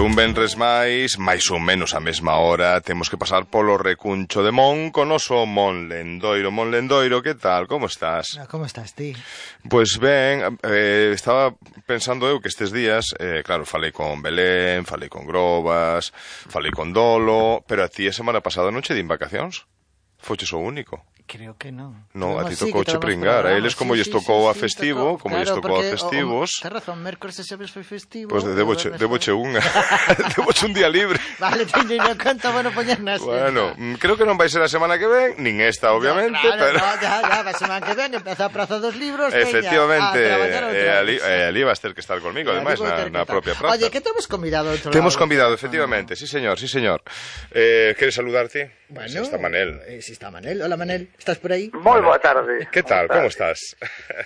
un venres máis ou menos a mesma hora, temos que pasar polo recuncho de Mon con oso Mon Lendoiro. Mon Lendoiro, que tal? Como estás? Como estás ti? Pois ben, estaba pensando eu que estes días, claro, falei con Belén, falei con Grobas, falei con Dolo, pero a ti a semana pasada non che din vacacións? Foches o único. Creo que non. No, a ti tocouche pringar. A eles como lles tocou a festivo, como lles tocou a festivos. Ten razón, mércores e xoves foi festivo. Pois deboche unha. Deboche un día libre. Vale, teño en conta, bueno, poñer nas. Bueno, creo que non vai ser a semana que ven, nin esta, obviamente, pero... Ya, a semana que ven, empeza a Praza dos Libros, efectivamente, e ali vas ter que estar conmigo, ademais, na propia praza. Oye, que temos convidado outro lado? Temos convidado, efectivamente, sí, señor. Queres saludarte? Bueno, está Manel. Si está Manel. Hola, Manel, estás por aí? Moi boa tarde. Que tal, como estás?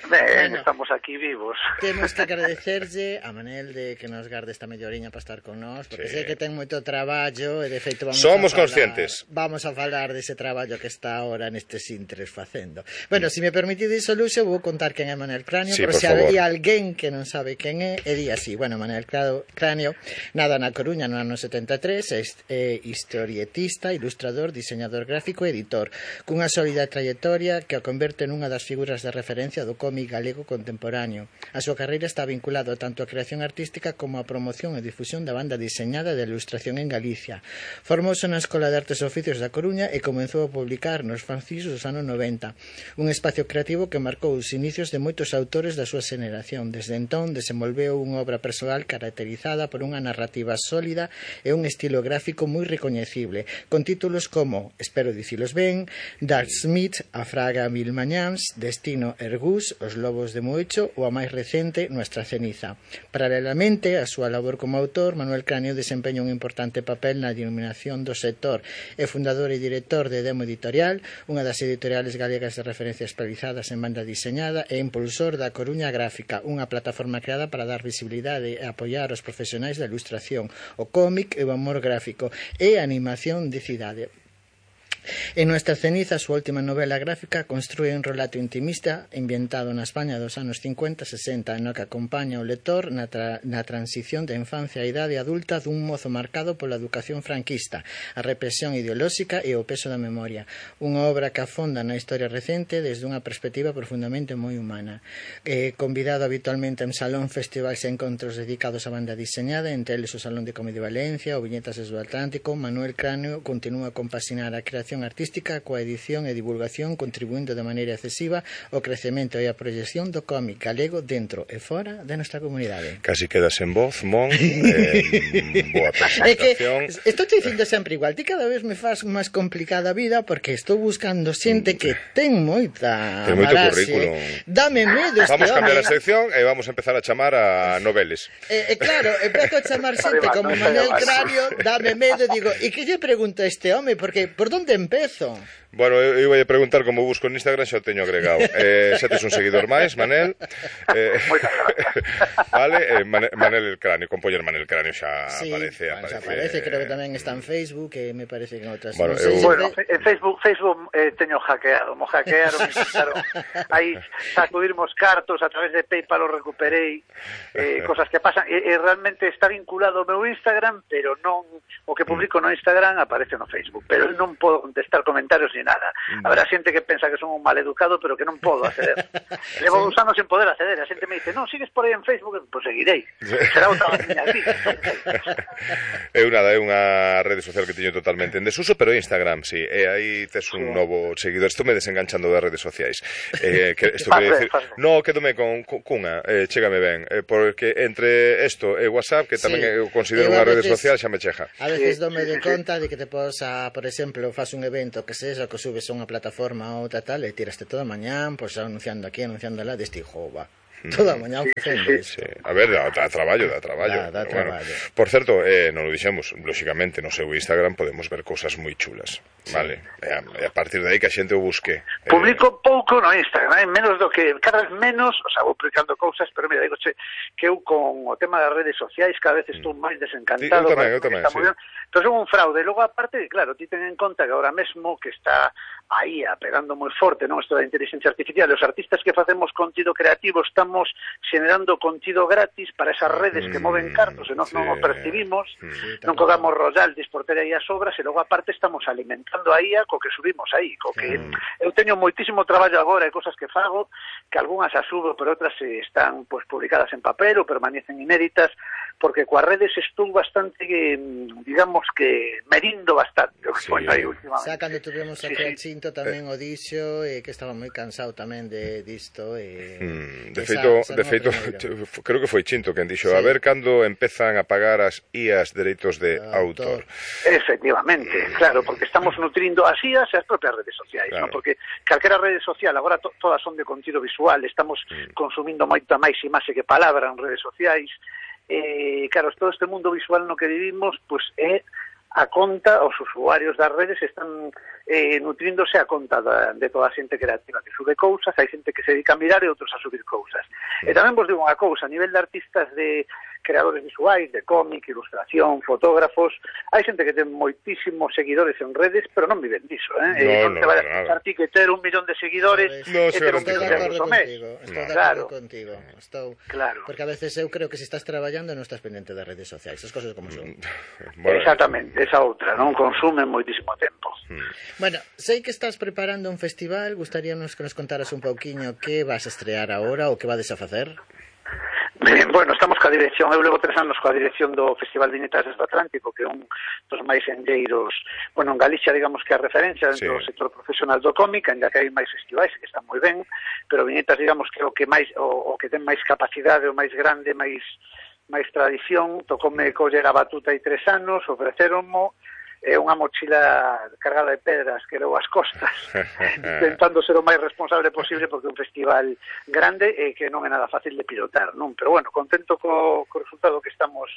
Ben, estamos aquí vivos. Temos que agradecerlle a Manel de que nos garde esta melloriña para estar con nós, porque sei que ten moito traballo e de feito somos conscientes. Vamos a falar dese traballo que está ahora nestes intres facendo. Bueno, se me permitides o luxo, vou contar quen é Manel Cráneo, sí, por se hai alguén que non sabe quen é, e di así. Bueno, Manel Cráneo nada na Coruña no ano 73, é historietista, ilustrador, diseñador gráfico e editor, cunha sólida trayectoria que o converte nunha das figuras de referencia do cómic galego contemporáneo. A súa carreira está vinculada tanto á creación artística como á promoción e difusión da banda diseñada de ilustración en Galicia. Formouse na Escola de Artes e Oficios da Coruña e comezou a publicar nos fanzines dos anos 90, un espacio creativo que marcou os inicios de moitos autores da súa xeración. Desde entón desenvolveu unha obra persoal caracterizada por unha narrativa sólida e un estilo gráfico moi recoñecible, con títulos como, espero dicilos ben, Dark Smith, A Fraga Mil Mañáns, Destino Ergús, Os Lobos de Moecho ou a máis recente, Nuestra Ceniza. Paralelamente a súa labor como autor, Manuel Cráneo desempeña un importante papel na iluminación do sector. É fundador e director de Demo Editorial, unha das editoriales galegas de referencia especializadas en banda diseñada, e impulsor da Coruña Gráfica, unha plataforma creada para dar visibilidade e apoiar os profesionais da ilustración, o cómic e o humor gráfico e a animación de cidade. En Nuestra Ceniza, a súa última novela gráfica, construe un relato intimista ambientado na España dos anos 50-60, no que acompaña o lector na transición de infancia a idade adulta dun mozo marcado pola educación franquista, a represión ideolóxica e o peso da memoria. Unha obra que afonda na historia recente desde unha perspectiva profundamente moi humana. Convidado habitualmente en salón, festivais e encontros dedicados á banda diseñada, entre eles o Salón de Comedia de Valencia, o Viñetas do Atlántico, Manuel Cráneo continúa a compaxinar a creación artística coa edición e divulgación, contribuindo de maneira excesiva ao crecemento e a proyección do cómic galego dentro e fora de nosa comunidade. Casi quedas en voz, Mon. Boa presentación. É que estou te dicindo sempre igual, ti cada vez me faz máis complicada a vida porque estou buscando xente que ten moita currículum. Dame medo este Vamos a cambiar home. a sección e vamos a empezar a chamar a noveles. Claro, empezo a chamar xente como Manuel Cráneo, dame medo, digo, e que lle pregunta a este home? Porque por donde empezo? Bueno, eu ia preguntar como busco en Instagram, xa o teño agregado. Xa tes un seguidor máis, Manel. Vale, Manel el Cráneo, con poñer Manel Cráneo xa sí, aparece. Creo que tamén está en Facebook, e me parece que en outras. Bueno, en Facebook teño hackeado, mo hackearon, aí sacudimos cartos a través de PayPal, o recuperei, cosas que pasan, e realmente está vinculado ao meu Instagram, pero non, o que publico no Instagram aparece no Facebook, pero non podo contestar comentarios ni nada. Habrá xente que pensa que son un mal educado, pero que non podo acceder. Levo 2 anos sen poder acceder. A xente me dice, non, sigues por aí en Facebook, pois seguirei. Será outra miña vida. É unha rede social que teño totalmente en desuso, pero Instagram, sí. E aí tes un novo seguidor. Estou me desenganchando das redes sociais. Isto quere decir... No, quédome cunha, chégame ben. Porque entre isto e WhatsApp, que tamén eu considero unha rede social, xa me cheja. A veces dome de conta de que te posa, por exemplo, faz un evento que sexa, que subes a unha plataforma ou tal, e tiraste toda a mañán, pois anunciando aquí, anunciando lá, deste jova. Toda a mañá facendo isto. A ver, dá traballo. Dá traballo. Bueno, por certo, non o dixemos, lóxicamente, no seu Instagram podemos ver cousas moi chulas, vale? E a partir de aí que a xente o busque. Publico pouco no Instagram, menos do que, cada vez menos, o sea, vou publicando cousas, pero mira, digo, que eu con o tema das redes sociais cada vez estou máis desencantado. Eu tamén, sí. Entón, son un fraude. Logo, aparte, claro, ti ten en conta que agora mesmo que está aí pegando moi forte, non, isto da inteligencia artificial, os artistas que facemos contido creativo están estamos generando contido gratis para esas redes que moven cartos e nós non o percibimos, non cobramos royalties por ter aí as obras, e logo aparte estamos alimentando a IA co que subimos aí, co que eu teño moitísimo traballo agora e cosas que fago, que algunhas as subo, pero outras están pues publicadas en papel ou permanecen inéditas, porque coas redes estou bastante, digamos que merindo bastante o que foi aí últimamente. Xa cando tuvemos aquí a Chinto tamén o dixo, que estaba moi cansado tamén disto. De feito, creo que foi Chinto quen dixo, a ver cando empezan a pagar as IAs dereitos de autor. Efectivamente, claro, porque estamos nutrindo as IAs e as propias redes sociais, claro. ¿No? Porque calquera rede social, agora todas son de contido visual, estamos consumindo moita máis imaxe que palabra en redes sociais. Claro, todo este mundo visual no que vivimos, pues é a conta, os usuarios das redes están nutríndose a conta de toda a xente creativa que sube cousas, hai xente que se dedica a mirar e outros a subir cousas. E tamén vos digo unha cousa, a nivel de artistas, de creadores visuais, de cómic, ilustración, fotógrafos, hai xente que ten moitísimos seguidores en redes, pero non viven diso, non te vayas a pensar ti que ter 1 millón de seguidores e ter un millón de mes. Estou de acordo contigo. Claro. Porque a veces eu creo que se estás traballando non estás pendente das redes sociais, as cosas como son. Exactamente, esa outra, non consumen moitísimo tempo. Bueno, sei que estás preparando un festival, gustaríanos que nos contaras un pouquiño que vas a estrear agora ou que vades a facer. Bueno, estamos coa dirección, eu levo 3 anos coa dirección do Festival Viñetas do Atlántico, que é un dos máis enlleiros, bueno, en Galicia, digamos que a referencia dentro do sector profesional do cómic, ainda que hai máis festivais que están moi ben, pero Viñetas, digamos, que é o que máis, o que ten máis capacidade, o máis grande, máis tradición. Tocoume coller a batuta hai 3 anos, ofreceronmo unha mochila cargada de pedras que levou as costas, intentando ser o máis responsable posible, porque é un festival grande e que non é nada fácil de pilotar, non? Pero bueno, contento co resultado que estamos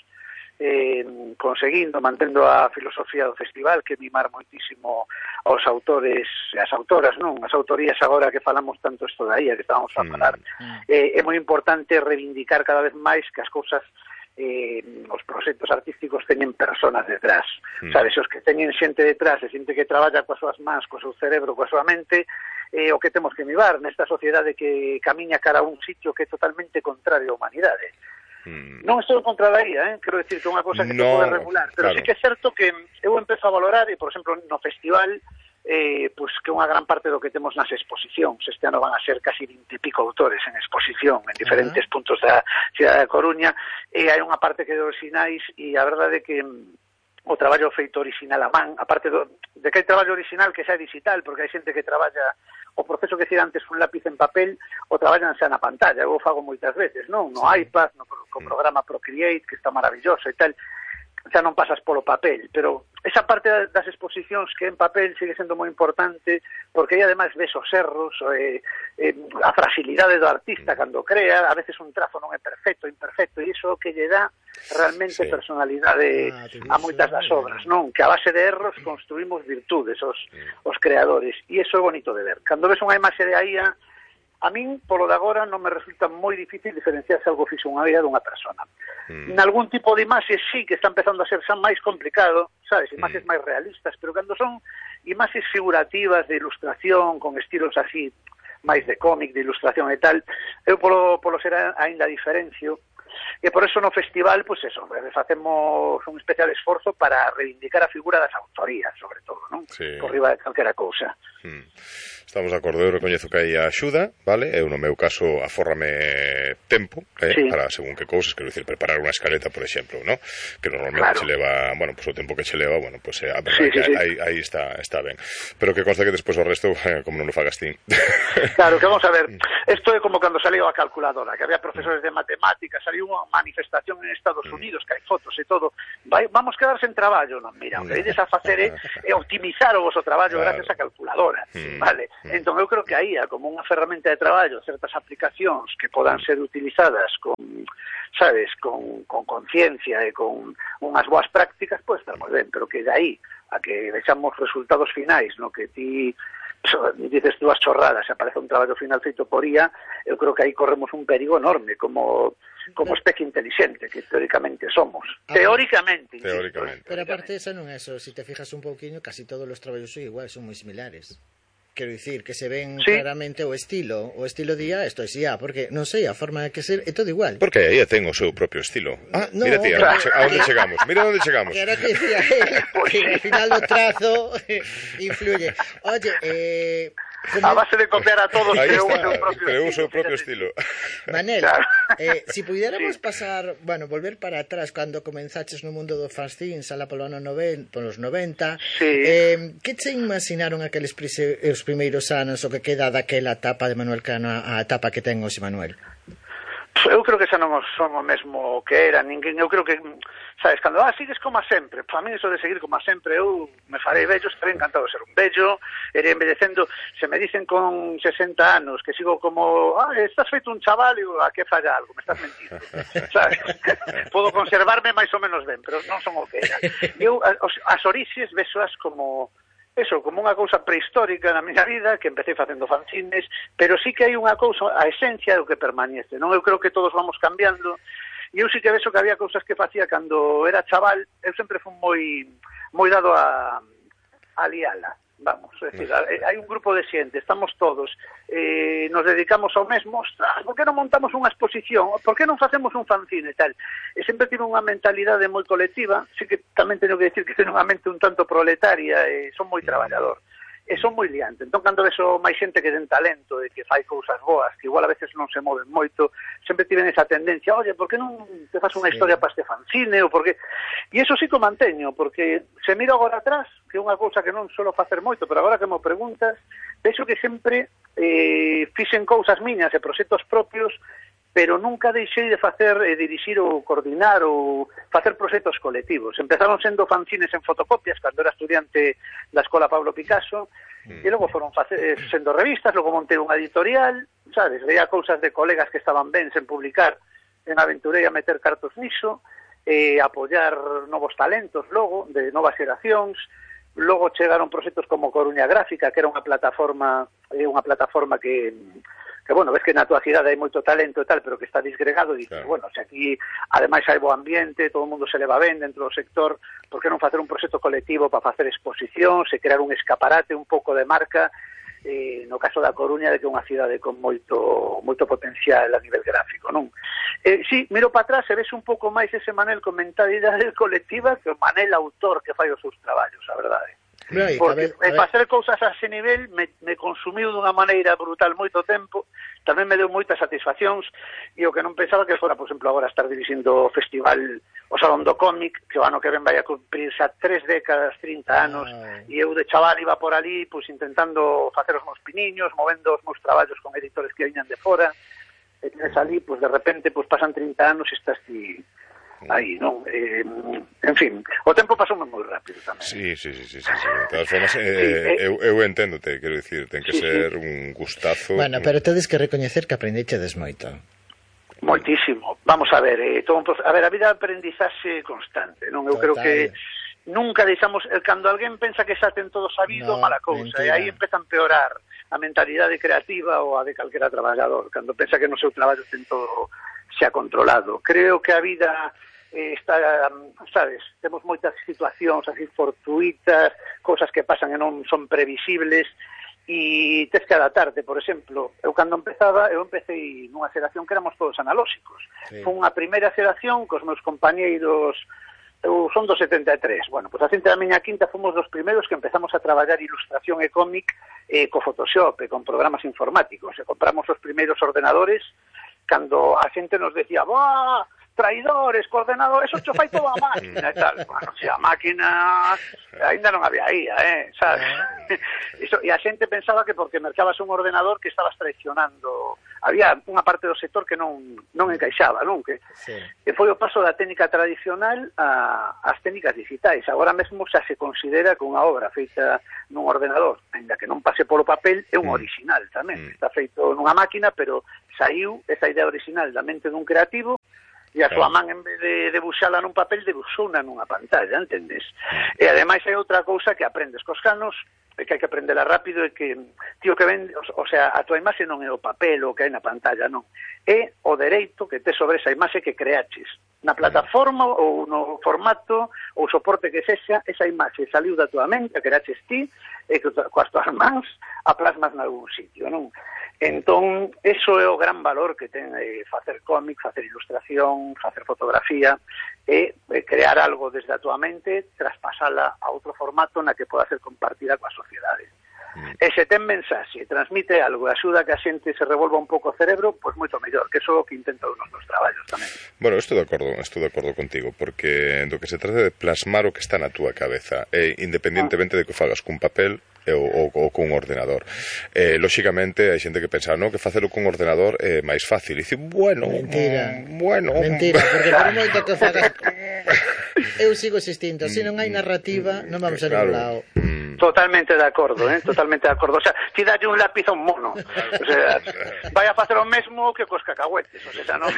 conseguindo, mantendo a filosofía do festival, que mimar moitísimo aos autores e as autoras, non? As autorías agora que falamos tanto isto da IA que estábamos a falar, é moi importante reivindicar cada vez máis que as cousas, os proxectos artísticos teñen personas detrás, sabes, os que teñen xente detrás, e xente que traballa coas súas mans, co seu cerebro, coa súa mente, o que temos que mirar nesta sociedade que camiña cara a un sitio que é totalmente contrario á humanidade. Non estou contra da IA, quero decir que é unha cosa que se pode regular, pero sí que é certo que eu empezo a valorar, e por exemplo no festival, pues que unha gran parte do que temos nas exposicións, este ano van a ser casi 20 e pico autores en exposición en diferentes puntos da cidade da Coruña, e hai unha parte que é de orixinais, e a verdade é que o traballo feito original a man, aparte de que hai traballo original que xa é digital, porque hai xente que traballa o proceso que hacía antes un lápiz en papel, o traballan xa na pantalla, eu o fago moitas veces, non? No iPad, co programa Procreate, que está maravilloso e tal, xa non pasas polo papel, pero esa parte das exposicións que en papel sigue sendo moi importante, porque aí ademais ves os erros, a fragilidade do artista cando crea, a veces un trazo non é perfecto, imperfecto, e iso que lle dá realmente personalidade a moitas das obras, non? Que a base de erros construímos virtudes os creadores, e iso é bonito de ver. Cando ves unha imaxe de aí, a min, polo de agora, non me resulta moi difícil diferenciar se algo fixo unha IA dunha persona. Nalgún tipo de imaxes sí que está empezando a ser xa máis complicado, sabes, imaxes máis realistas, pero cando son imaxes figurativas de ilustración, con estilos así máis de cómic, de ilustración e tal, eu polo ser aínda diferencio, e por eso no festival, pues eso, facemos un especial esforzo para reivindicar a figura das autorías, sobre todo, non? Por riba de calquera cousa. Estamos de acordo, eu recoñezo que hai axuda, vale? Eu no meu caso afórrame tempo, para según que cousas, quero dicir, preparar unha escaleta, por exemplo, ¿no? Que normalmente se leva, bueno, pues o tempo que se leva, bueno, pues a verdade que aí está ben. Pero que consta que despois o resto, como non o fagas ti. Claro, que vamos a ver, isto é como cando saliu a calculadora, que había profesores de matemáticas, saliu unha manifestación en Estados Unidos, que hai fotos e todo, vamos quedar sen traballo, non? Mira, o que ides a facer é optimizar o vosso traballo gracias a calculadora, vale? Entón eu creo que aí, como unha ferramenta de traballo, certas aplicacións que podan ser utilizadas con, sabes, con conciencia e con unhas boas prácticas, pois estar moi ben, pero que de aí a que vexamos resultados finais, no que ti dices dúas chorradas e aparece un traballo final feito por IA, eu creo que aí corremos un perigo enorme como especie inteligente que teóricamente somos. Teóricamente. Pero aparte esa non é eso, se te fijas un pouquiño, casi todos os traballos son iguais, son moi similares. quero dicir, que se ven claramente o estilo día, isto é xía, porque non sei, a forma de que ser é todo igual. Porque aí ten o seu propio estilo. Mira ti, a onde chegamos. Mira onde chegamos. Que era que decía que ao final o trazo influye. Oye, a base de copiar a todos creou o seu propio estilo. Manel, si pudiéramos pasar, volver para atrás cando comenzaches no mundo do fanzine, alá polos 90, que che imaginaron aqueles os primeiros anos o que queda daquela etapa de Manuel Cano a etapa que ten hoxe Manuel? Eu creo que xa non son o mesmo que era ninguén. Eu creo que, sabes, cando sigues como a sempre, para mí iso de seguir como a sempre, eu me farei vello, estarei encantado de ser un vello, irei envellecendo. Se me dicen con 60 anos que sigo como, estás feito un chaval, digo, a que falla algo, me estás mentindo, sabes? Podo conservarme máis ou menos ben, pero non son o que era. Eu as orixes vesoas como como unha cousa prehistórica na miña vida, que empecé facendo fanzines, pero sí que hai unha cousa, a esencia do que permanece, non? Eu creo que todos vamos cambiando, e eu sí que vexo que había cousas que facía cando era chaval. Eu sempre fui moi dado a liala, vamos, é dicir, hai un grupo de xente, estamos todos, nos dedicamos ao mesmo, ostras, por que non montamos unha exposición, por que non facemos un fanzine e tal, e sempre tive unha mentalidade moi colectiva. Sí que tamén teño que decir que teño unha mente un tanto proletaria e son moi traballador, e son moi liante. Entón, cando vexo máis xente que ten talento e que fai cousas boas, que igual a veces non se moven moito, sempre tiven esa tendencia, oye, por que non te faz unha historia para este fanzine, ou por que... E iso sí que o manteño, porque se miro agora atrás, que é unha cousa que non suelo facer moito, pero agora que me preguntas, vexo que sempre fixen cousas miñas e proxectos propios, pero nunca deixei de facer, dirixir ou coordinar ou facer proxectos colectivos. Empezaron sendo fanzines en fotocopias cando era estudiante da Escola Pablo Picasso, e logo foron sendo revistas, logo montei unha editorial, sabes, veía cousas de colegas que estaban ben sen publicar, en aventurei a meter cartos niso, apoiar novos talentos logo, de novas xeracións. Logo chegaron proxectos como Coruña Gráfica, que era unha plataforma que ves que na túa cidade hai moito talento e tal, pero que está disgregado, e dices, se aquí ademais hai bo ambiente, todo o mundo se leva ben dentro do sector, por que non facer un proxecto colectivo para facer exposicións e crear un escaparate, un pouco de marca, no caso da Coruña, de que é unha cidade con moito potencial a nivel gráfico, non? Sí, miro para atrás e ves un pouco máis ese Manel con mentalidade colectiva que o Manel autor que fai os seus traballos, a verdade. Porque facer cousas a ese nivel me consumiu dunha maneira brutal moito tempo, tamén me deu moitas satisfaccións, e o que non pensaba que fora, por exemplo, agora estar dirixindo o festival, o Salón do Cómic, que o ano que ven vai a cumprirse a 3 décadas, 30 anos, e eu de chaval iba por ali, pois intentando facer os meus piniños, movendo os meus traballos con editores que viñan de fora, e tienes ali, pois de repente, pois pasan 30 anos e estás ti aí, non? En fin, o tempo pasoume moi rápido tamén. Sí. De todas formas, eu enténdote, quero dicir, ten que ser un gustazo. Bueno, pero tedes que recoñecer que aprendechedes moito. Moitísimo. Vamos a ver, a vida é aprendizaxe constante, non? Eu creo que nunca deixamos, cando alguén pensa que xa ten todo sabido, mala cousa, e aí empeza a empeorar a mentalidade creativa ou a de calquera traballador, cando pensa que no seu traballo ten todo xa controlado. Creo que a vida está, sabes, temos moitas situacións así fortuitas, cousas que pasan e non son previsibles, e tes que adaptarte. Por exemplo, eu cando eu empecé nunha xeración que éramos todos analóxicos. Foi unha primeira xeración cos meus compañeiros, eu son do 73, pois a xente da miña quinta fomos dos primeiros que empezamos a traballar ilustración e cómic co Photoshop e con programas informáticos, e compramos os primeiros ordenadores cando a xente nos decía, traidores, coordenadores, eso fai toda a máquina e tal. Se a máquina ainda non había IA, sabes? E a xente pensaba que porque mercabas un ordenador que estabas traicionando. Había unha parte do sector que non encaixaba, non? Que foi o paso da técnica tradicional ás técnicas digitais. Agora mesmo xa se considera que unha obra feita nun ordenador, ainda que non pase polo papel, é un original tamén. Está feito nunha máquina, pero saiu esa idea original da mente dun creativo, e a súa man, en vez de debuxala nun papel, debuxouna nunha pantalla, entendes? E ademais hai outra cousa que aprendes cos canos, e que hai que aprendela rápido, e que, tío, que ven, o sea, a tua imaxe non é o papel o que hai na pantalla, non. É o dereito que tes sobre esa imaxe que creaches. na plataforma ou no formato ou soporte que sexa, esa imaxe saliu da tua mente, a que eraches ti, e que coas tuas mans a plasmas nalgún sitio, non? Entón, eso é o gran valor que ten facer cómic, facer ilustración, facer fotografía, e crear algo desde a tua mente, traspasala a outro formato na que poda ser compartida coa sociedade. E se ten mensaxe, transmite algo e axuda que a xente se revolva un pouco o cerebro, pois moito mellor, que iso é o que intento nos meus traballos tamén. Bueno, estou de acordo contigo, porque do que se trata de plasmar o que está na túa cabeza, independentemente de que fagas cun papel ou cun ordenador. Lóxicamente, hai xente que pensa, no, que facelo cun ordenador é máis fácil. E dice, mentira, porque por moito que fagas... Eu sigo existindo, se non hai narrativa, non vamos a ningún lado. Totalmente de acordo, totalmente de acordo. O sea, ti dalle un lápiz a un mono. O sea, vai a facer o mesmo que cos cacahuetes. O sea, non,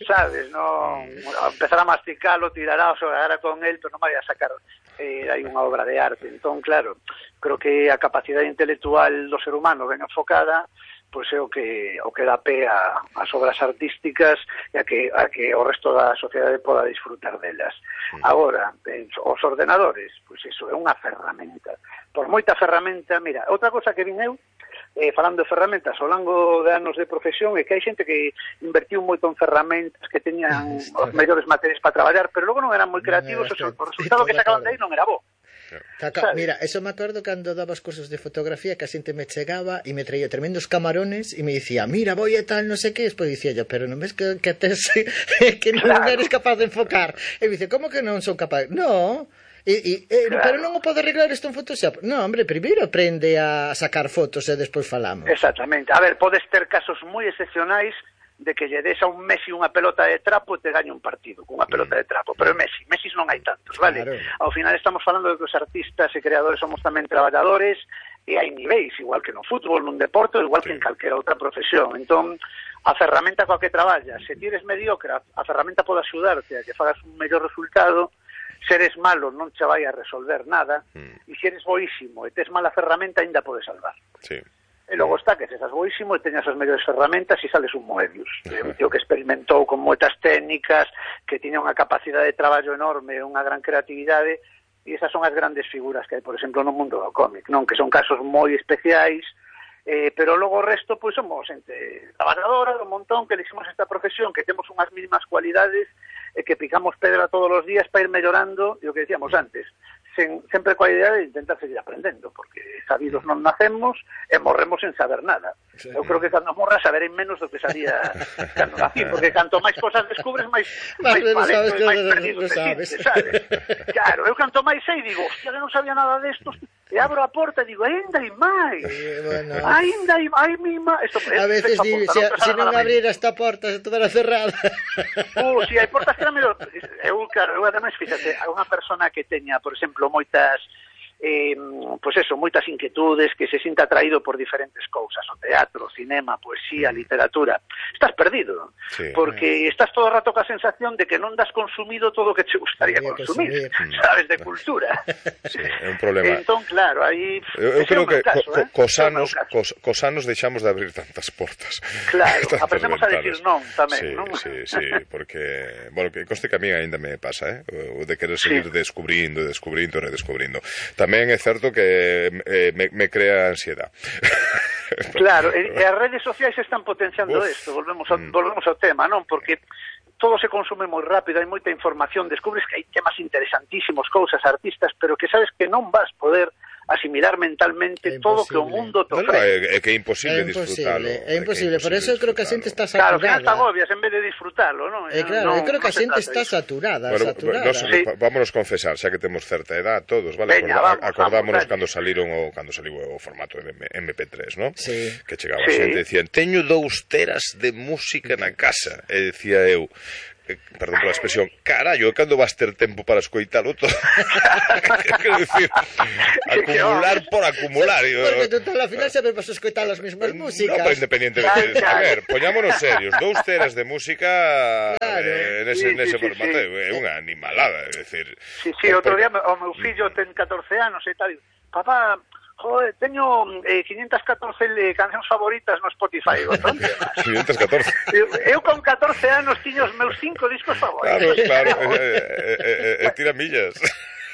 sabes, non empezar a masticalo, tirará, o sea, ahora con él, pero non vai a sacar hai unha obra de arte. Entón, claro, creo que a capacidade intelectual do ser humano ben enfocada, pois é o que dá pé ás obras artísticas e a que o resto da sociedade poda disfrutar delas. Agora, os ordenadores, pois iso é unha ferramenta. Por moita ferramenta, mira, outra cosa que vin eu, falando de ferramentas ao longo de anos de profesión, é que hai xente que invertiu moito en ferramentas que teñan os mellores materiais para traballar, pero logo non eran moi creativos, o resultado que sacaban de aí non era bo. Mira, eso me acordo cando dabas cursos de fotografía, que a xente me chegaba e me traía tremendos camarones e me dicía, mira, voy e tal, non sei que, despois dicía yo, pero non ves que tes que non eres capaz de enfocar? E me dice, como que non son capaz? No, pero non o podo arreglar isto en Photoshop. No, hombre, primeiro aprende a sacar fotos e despois falamos. Exactamente, a ver, podes ter casos moi excepcionais de que lle des a un Messi unha pelota de trapo e te gañe un partido cunha pelota de trapo, pero Messi non hai tantos, vale? Claro. Ao final estamos falando de que os artistas e creadores somos tamén traballadores e hai niveis, igual que no fútbol, nun deporte, igual que en calquera outra profesión. Entón, a ferramenta coa que traballas, se ti eres mediocre, a ferramenta pode axudarte a que fagas un mellor resultado. Se eres malo non che vai a resolver nada, e se eres boísimo e tes mala ferramenta, ainda podes salvar. Sí. E logo está que se estás boísimo e teñas as mellores ferramentas e sales un Moebius. Un tío que experimentou con moitas técnicas, que tiña unha capacidade de traballo enorme, unha gran creatividade, e esas son as grandes figuras que hai, por exemplo, no mundo do cómic, non? Que son casos moi especiais, pero logo o resto, pois, somos xente traballadora do montón, que elegimos esta profesión, que temos unhas mínimas cualidades, e que picamos pedra todos os días para ir mellorando, e o que decíamos antes, sempre coa idea de intentar seguir aprendendo, porque sabidos non nacemos e morremos sen saber nada. Sí. Eu creo que cando morra saberei menos do que sabía cando nací, porque canto máis cosas descubres, máis valento e máis perdido te sientes, sabes? Claro, eu canto máis sei, digo, hostia, que non sabía nada destos, e abro a porta e digo, ainda hai máis, ainda hai máis. A veces digo, se non abrira esta porta, se estuvera cerrada. Si hai portas que era mellor. Eu, claro, ademais, fíjate, a unha persona que teña, por exemplo, moitas moitas inquietudes, que se sinta atraído por diferentes cousas, o teatro, o cinema, a poesía, a literatura, estás perdido, porque estás todo o rato ca sensación de que non das consumido todo o que te gustaría consumir, sabes, de cultura. Sí, é un problema. Entón, claro, aí eu creo que cos anos deixamos de abrir tantas portas. Claro, aprendemos a decir non tamén, non? Sí, porque, bueno, que coste que a mí ainda me pasa, o de querer seguir descubrindo, redescubrindo. Tamén é certo que me crea ansiedade. Claro, e as redes sociais están potenciando isto, volvemos ao tema, non? Porque todo se consume moi rápido, hai moita información, descubres que hai temas interesantísimos, cousas, artistas, pero que sabes que non vas poder asimilar mentalmente todo que o mundo te ofrece. É que é imposible disfrutalo. É imposible, por eso eu creo que a xente está saturada. Claro, que hasta agobias en vez de disfrutarlo, non? Claro, eu creo que a xente está saturada. Vámonos confesar, xa que temos certa edad todos, vale? Acordámonos cando saliu o formato de MP3, non? Que chegaba a xente e decían, teño 2 teras de música na casa, e decía eu, perdón pola expresión, carallo, cando vas ter tempo para escoitalo todo? Quero dicir, acumular por acumular. Porque total, ao final sempre vas a escoitar as mesmas músicas. No, pero independientemente, a ver, poñámonos serios, 2 teras de música nese formato, é unha animalada, é dicir. Sí, outro día o meu fillo ten 14 anos e tal, papá, Joder, teño 514 cancións favoritas no Spotify. 514. Eu con 14 anos tiño os meus 5 discos favoritos. Claro, tira millas.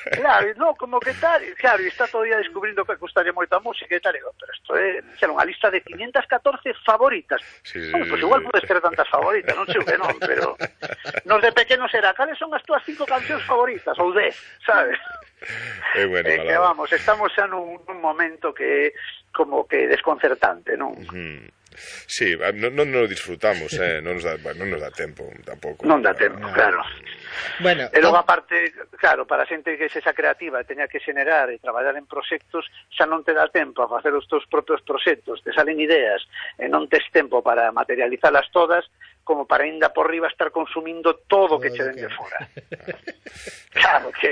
Claro, no, como que tal, claro, e está todavía descubrindo que gustaría moito a música e tal, pero isto é unha lista de 514 favoritas. Sí, Pois igual podes ter tantas favoritas, non sei o que non, pero nos de pequenos era, cales son as túas 5 cancións favoritas, ou 10, sabes? É bueno, que vamos, estamos xa nun momento que como que desconcertante, non? Sí, non nos disfrutamos, non nos dá tempo tampouco. Non dá tempo, claro. Bueno, e logo aparte, claro, para a xente que sexa creativa e teña que xenerar e traballar en proxectos, xa non te dá tempo a facer os teus propios proxectos, te salen ideas e non tes tempo para materializalas todas, como para ainda por riba estar consumindo todo o que che den de fora. Claro que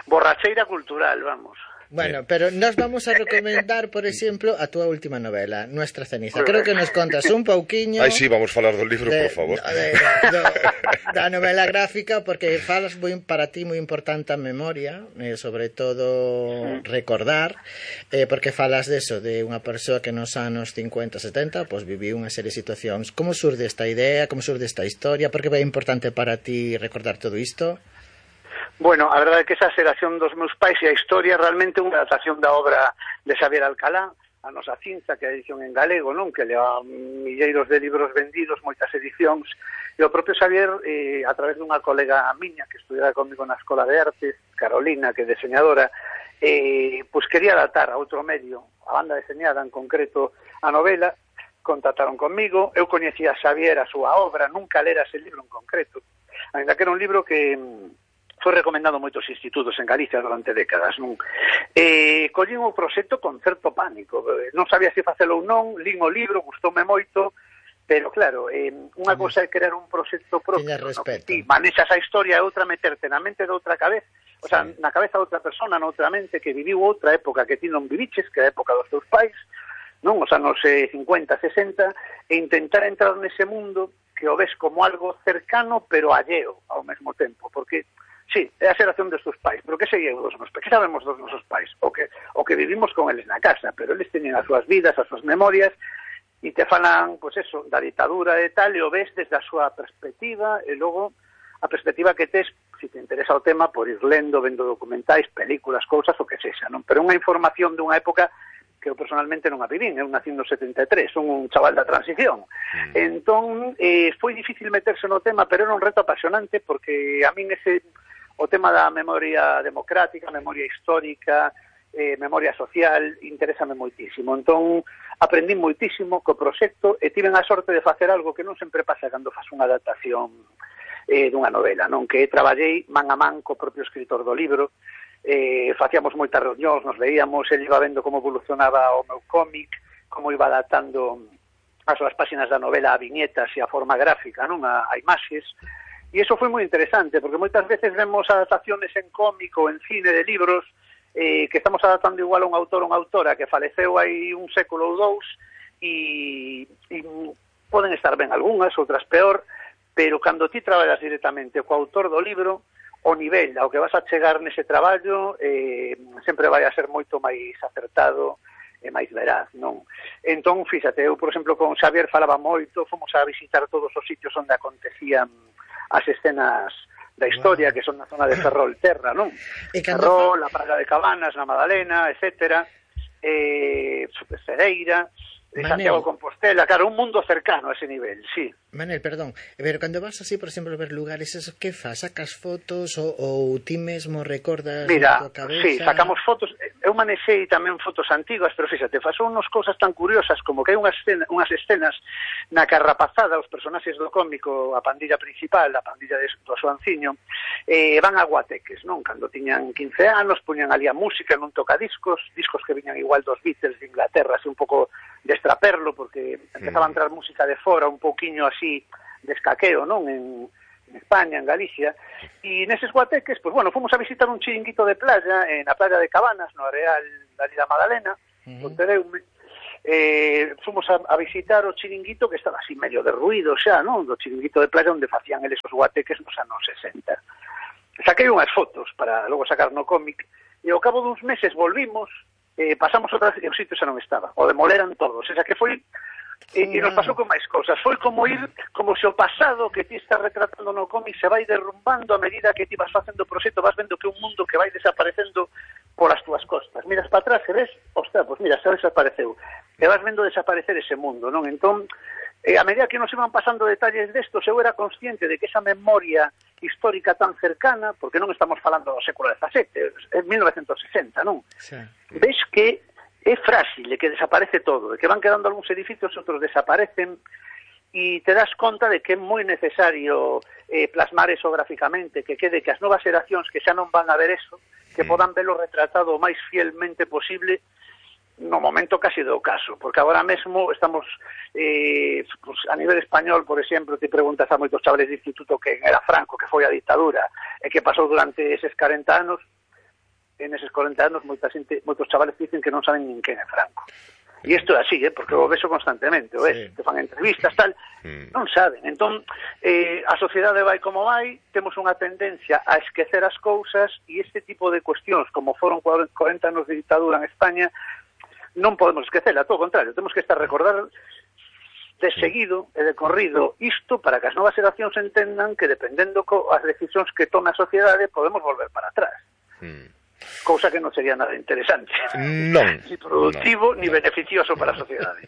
borracheira cultural, vamos. Bueno, pero nos vamos a recomendar, por exemplo, a túa última novela, Nuestra ceniza. Creo que nos contas un pouquiño... Ai, sí, vamos falar do libro, por favor. Da novela gráfica, porque falas para ti moi importante a memoria, sobre todo recordar, porque falas deso, de unha persoa que nos anos 50-70 pues, viviu unha serie de situacións. Como surde esta idea, como surde esta historia, por que é importante para ti recordar todo isto? Bueno, a verdade é que esa xeración dos meus pais e a historia realmente unha adaptación da obra de Xavier Alcalá, a nosa cinza, que é a edición en galego, non? Que leva milleiros de libros vendidos, moitas edicións, e o propio Xavier, a través dunha colega miña que estudiara comigo na Escola de Artes, Carolina, que é diseñadora, pois quería adaptar a outro medio, a banda deseñada en concreto, a novela, contactaron comigo, eu coñecía a Xavier, a súa obra, nunca lera ese libro en concreto, ainda que era un libro que foi recomendado moitos institutos en Galicia durante décadas, non? Collín o proxecto con certo pánico, non sabía se facelo ou non, lín o libro, gustoume moito, pero claro, unha cosa é crear un proxecto propio, no? Que ti manexas a historia e outra meterte na mente de outra cabeza, o sea, na cabeza de outra persona, noutra mente que viviu outra época que ti non viviches, que é a época dos teus pais, non? Os anos 50, 60, e intentar entrar nese mundo que o ves como algo cercano pero alleo ao mesmo tempo, porque sí, é a xeración dos teus pais, pero que seguimos dos nosos pais? Que sabemos dos nosos pais? O que vivimos con eles na casa, pero eles teñen as súas vidas, as súas memorias, e te falan, pois eso, da ditadura e tal, e o ves desde a súa perspectiva, e logo a perspectiva que tes, se te interesa o tema, por ir lendo, vendo documentais, películas, cousas, o que sexa, non? Pero unha información dunha época que eu personalmente non a vivín, eu nací no 73, son un chaval da transición. Entón, foi difícil meterse no tema, pero era un reto apasionante, porque a min o tema da memoria democrática, memoria histórica, memoria social, interésame moitísimo. Entón, aprendí moitísimo co proxecto e tiven a sorte de facer algo que non sempre pasa cando faz unha adaptación dunha novela, non? Que traballei man a man co propio escritor do libro, facíamos moitas reunións, nos veíamos, ele iba vendo como evolucionaba o meu cómic, como iba adaptando as súas páxinas da novela a viñetas e a forma gráfica, non? A imaxes. E iso foi moi interesante, porque moitas veces vemos adaptaciones en cómic ou en cine de libros que estamos adaptando igual a un autor ou unha autora que faleceu hai un século ou dous e poden estar ben algunhas, outras peor, pero cando ti traballas directamente co autor do libro, o nivel ao que vas a chegar nese traballo sempre vai a ser moito máis acertado e máis veraz, non? Entón, fíxate, eu, por exemplo, con Xavier falaba moito, fomos a visitar todos os sitios onde acontecían as escenas da historia, que son na zona de Ferrol Terra, non? Ferrol, a Praga de Cabanas, na Madalena, etcétera, Cedeira, Santiago de Compostela, claro, un mundo cercano a ese nivel, sí. Manel, perdón, pero cando vas así, por exemplo, a ver lugares, eso, que fas? Sacas fotos ou ti mesmo recordas na tua cabeza? Sí, sacamos fotos, eu manexei tamén fotos antigas, pero fíxate, fasou unhas cousas tan curiosas como que hai unhas escenas na que arrapazada os personaxes do cómico, a pandilla principal, a pandilla do Soanciño, van a guateques, non? Cando tiñan 15 anos, poñan ali a música nun tocadiscos, discos que viñan igual dos Beatles de Inglaterra, así un pouco de extraperlo, porque empezaba a entrar música de fora, un pouquiño así de escaqueo, non? En España, en Galicia, e neses guateques, pues bueno, fomos a visitar un chiringuito de playa, na playa de Cabanas, no areal da Lida Madalena, Pontereume, fomos a visitar o chiringuito que estaba así medio derruído xa, non? Do chiringuito de playa onde facían eles os guateques nos anos 60. Saquei unhas fotos para logo sacar no cómic, e ao cabo duns meses volvimos, pasamos outra vez e o sitio xa non estaba, o demoleran todos, o sea que foi e nos pasou con máis cousas, foi como ir como se o pasado que ti estás retratando no cómic se vai derrumbando a medida que ti vas facendo o proxecto, vas vendo que un mundo que vai desaparecendo polas túas costas, miras para atrás e ves, ostras, pois mira, xa desapareceu e vas vendo desaparecer ese mundo, non? Entón, a medida que nos iban pasando detalles destos, eu era consciente de que esa memoria histórica tan cercana, porque non estamos falando do século XVII, en 1960, non? Sí. Ves que é frágil, que desaparece todo, que van quedando algúns edificios, outros desaparecen, e te das conta de que é moi necesario plasmar eso gráficamente, que quede que as novas xeracións que xa non van a ver eso, que podan verlo retratado o máis fielmente posible no momento casi do caso, porque agora mesmo estamos pues, a nivel español, por exemplo, te preguntas a moitos chavales de instituto que era Franco, que foi a ditadura, e que pasou durante eses 40 anos. En eses 40 anos moitos chavales dicen que non saben nin quen é Franco. E isto é así, porque o beso constantemente, o ves, te fan entrevistas, tal, non saben. Entón, a sociedade vai como vai, temos unha tendencia a esquecer as cousas e este tipo de cuestións, como foron 40 anos de ditadura en España, non podemos esquecela, todo o contrario, temos que estar recordar de seguido e de corrido isto para que as novas xeracións entendan que dependendo as decisións que tome a sociedade podemos volver para atrás. Cousa que non sería nada interesante, non, ni productivo, ni beneficioso para a sociedade.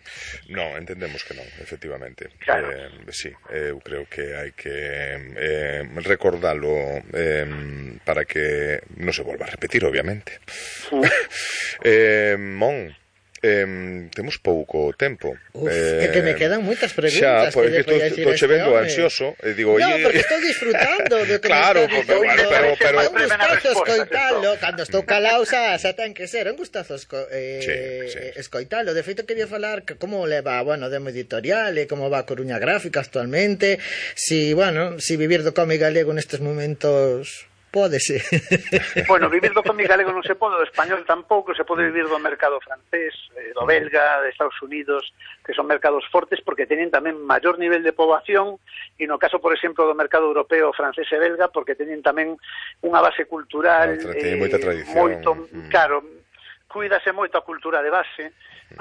Non, entendemos que non, efectivamente. Claro. Sí, eu creo que hai que recordalo para que non se volva a repetir, obviamente. Mon, temos pouco tempo. É que me quedan moitas preguntas. Xa, porque estou che vendo ansioso. Digo, no, porque estou disfrutando do que claro, me está dicindo. pero é un gustazo escoitalo. Cando estou calao xa ten que ser. É un gustazo escoitalo. De feito, quería falar que como leva, bueno, Demo Editorial e como va a Coruña Gráfica actualmente. Si vivir do cómic galego nestes momentos... Pódese. Bueno, vivir do cómic galego non se pode, do español tampouco, se pode vivir do mercado francés, do belga, de Estados Unidos, que son mercados fortes porque teñen tamén maior nivel de poboación, e no caso, por exemplo, do mercado europeo, francés e belga, porque teñen tamén unha base cultural moita tradición. Moito, claro, cuídase moito a cultura de base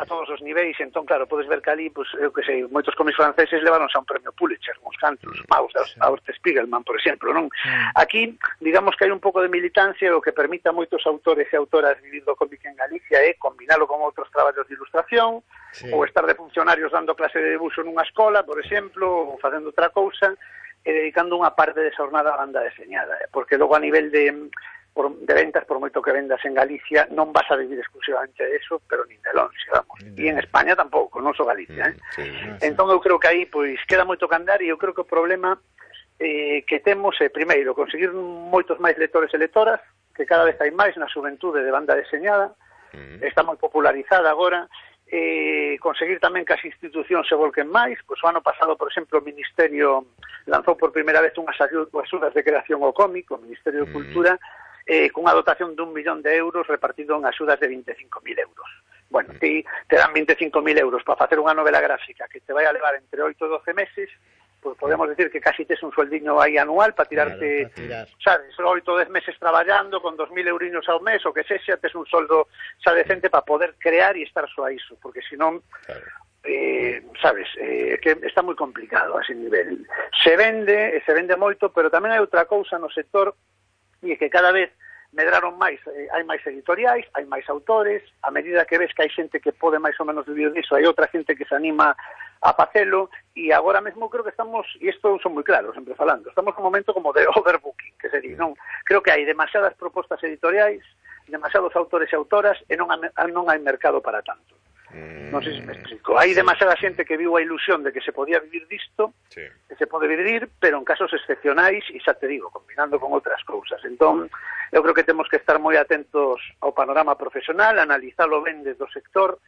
a todos os niveis, entón, claro, podes ver que ali, pues, eu que sei, moitos cómics franceses levaronse a un premio Pulitzer, uns cantos, Maus, a Orte Spiegelman, por exemplo, non? Aquí, digamos que hai un pouco de militancia, o que permite a moitos autores e autoras vivir do cómic en Galicia é combinalo con outros traballos de ilustración, ou estar de funcionarios dando clase de debuxo nunha escola, por exemplo, ou facendo outra cousa, e dedicando unha parte de esa jornada a banda deseñada, porque logo a nivel de ventas, por moito que vendas en Galicia, non vas a vivir exclusivamente de eso, pero nin de longe, vamos. E en España tampouco, non só Galicia, Entón eu creo que aí, pois, queda moito que andar, e eu creo que o problema que temos é, primeiro, conseguir moitos máis lectores e lectoras, que cada vez hai máis na xuventude de banda deseñada, está moi popularizada agora, conseguir tamén que as institucións se volquen máis, pois o ano pasado, por exemplo, o Ministerio lanzou por primeira vez unhas axudas de creación ao cómic, o Ministerio de Cultura, cunha dotación de 1 millón de euros repartido en axudas de 25.000 euros. Bueno, te dan 25.000 euros para facer unha novela gráfica que te vai a levar entre 8 e 12 meses, pues podemos decir que casi tes un sueldiño aí anual para tirarte, sabes, 8 ou 10 meses traballando con 2.000 euriños ao mes, o que sexa, tes un soldo xa decente para poder crear e estar só a iso, porque senón, sabes, que está moi complicado a ese nivel. Se vende moito, pero tamén hai outra cousa no sector, e que cada vez medraron máis, hai máis editoriais, hai máis autores, a medida que ves que hai xente que pode máis ou menos vivir disso, hai outra xente que se anima a facelo, e agora mesmo creo que estamos, e isto son moi claros, sempre falando, estamos nun momento como de overbooking, que sería, non? Creo que hai demasiadas propostas editoriais, demasiados autores e autoras, e non hai mercado para tanto. Non sei se me explico. Hai demasiada xente que viu a ilusión de que se podía vivir disto, que se pode vivir, pero en casos excepcionais, e xa te digo, combinando con outras cousas. Entón, eu creo que temos que estar moi atentos ao panorama profesional, analizalo ben desde o sector,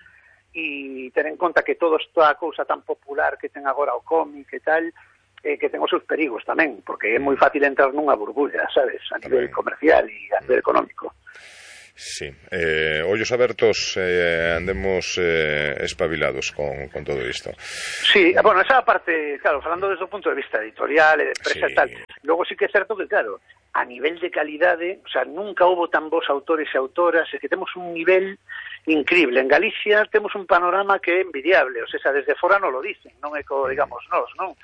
e ter en conta que todo esta cousa tan popular que ten agora o cómic e tal, que ten os seus perigos tamén, porque é moi fácil entrar nunha burbulla, sabes, a nivel comercial e a nivel económico. Sí, ollos abertos, andemos espabilados con todo isto. Sí, bueno, esa parte, claro, falando desde o punto de vista editorial e de empresa e tal, logo sí que é certo que, claro, a nivel de calidade, o sea, nunca houve tan bons autores e autoras, é que temos un nivel increíble. En Galicia temos un panorama que é envidiable, o sea, desde fora non lo dicen, non é co, digamos, nós, non?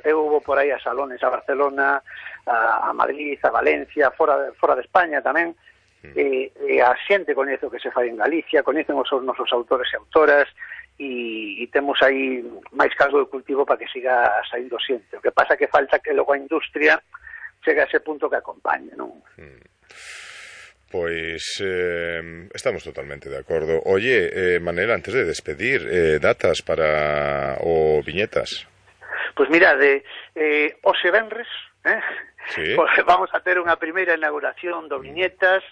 Eu vou por aí a salones a Barcelona, a Madrid, a Valencia, fora de España tamén, e a xente coñece o que se fai en Galicia, coñecen os nosos autores e autoras, e temos aí máis caldo de cultivo para que siga saindo xente. O que pasa que falta que logo a industria chegue a ese punto que acompañe, non? Pois estamos totalmente de acordo. Oye, Manel, antes de despedir, datas para o Viñetas? Pois mirade, hoxe venres, sí. Pues vamos a ter unha primeira inauguración do Viñetas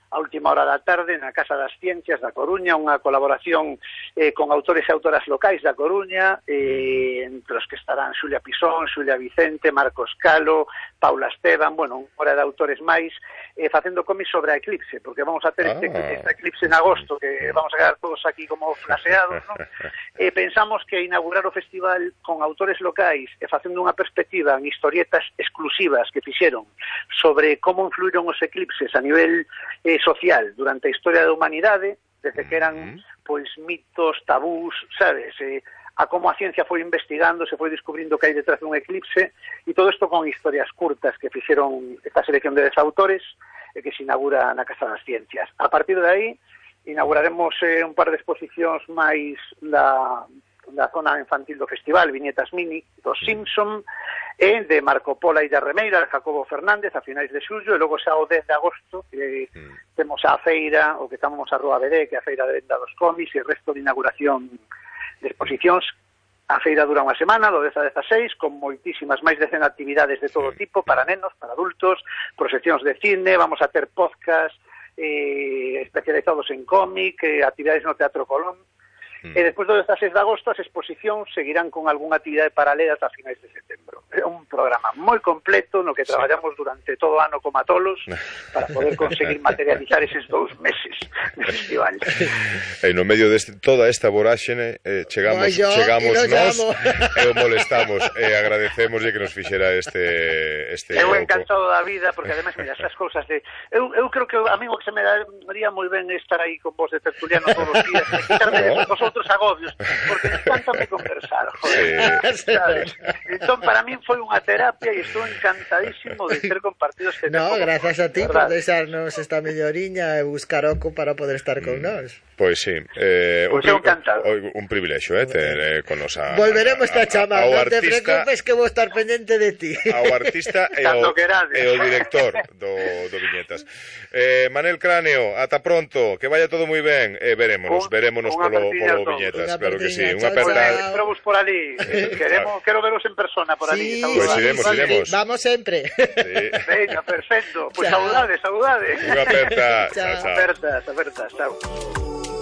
a última hora da tarde na Casa das Ciencias da Coruña, unha colaboración con autores e autoras locais da Coruña, entre os que estarán Xulia Pisón, Xulia Vicente, Marcos Calo, Paula Esteban, bueno, unha hora de autores máis, facendo cómics sobre a eclipse, porque vamos a ter este eclipse en agosto, que vamos a quedar todos aquí como flaseados, ¿no? Pensamos que inaugurar o festival con autores locais e facendo unha perspectiva en historietas exclusivas que fixeron sobre como influíron os eclipses a nivel social durante a historia da humanidade, desde que eran pois mitos, tabús, sabes, a como a ciencia foi investigando, se foi descubrindo que hai detrás dun eclipse, e todo isto con historias curtas que fixeron esta selección de 10 autores que se inaugura na Casa das Ciencias. A partir de aí inauguraremos un par de exposicións máis da zona infantil do festival, Viñetas Mini, dos Simpson, e de Marco Pola e da Remeira, de Jacobo Fernández, a finais de xullo, e logo xa o 10 de agosto, temos a feira, o que chamamos a Rúa BD, que é a feira de venda dos cómics, e o resto de inauguración de exposicións. A feira dura unha semana, do 10 a 16, con moitísimas máis de 100 actividades de todo tipo, para nenos, para adultos, proxeccións de cine, vamos a ter podcast especializados en cómic, actividades no Teatro Colón. E despois do 16 de agosto as exposicións seguirán con algunha actividade paralela ata finais de setembro. É un programa moi completo no que traballamos durante todo o ano como atolos para poder conseguir materializar eses 2 meses de festival. E no medio de toda esta voráxene chegamos nós e o molestamos e agradecemos que nos fixera este eu encantado da vida, porque ademais, mira, esas cousas de eu creo que a mí o que se me daría moi ben estar aí con vos de tertuliano todos os días, quitarme outros agobios, porque encantame conversar, joder, sabes? Entón, para mí foi unha terapia e estou encantadísimo de ter compartido este tempo. No, gracias a ti por deixarnos esta melloriña e buscar oco para poder estar con nós. Pois sí, un privilexio, ter con nos a... Volveremos a chamar, non te preocupes que vou estar pendente de ti. Ao artista e o director do Viñetas. Manel Cráneo, ata pronto, que vaya todo moi ben, verémonos polo Viñetas, claro que sí. Unha aperta. Espero por ali. Quero veros en persona por ali. Pois iremos. Vamos sempre. Venga, perfecto. Pois saudades. Unha aperta. Apertas, chao.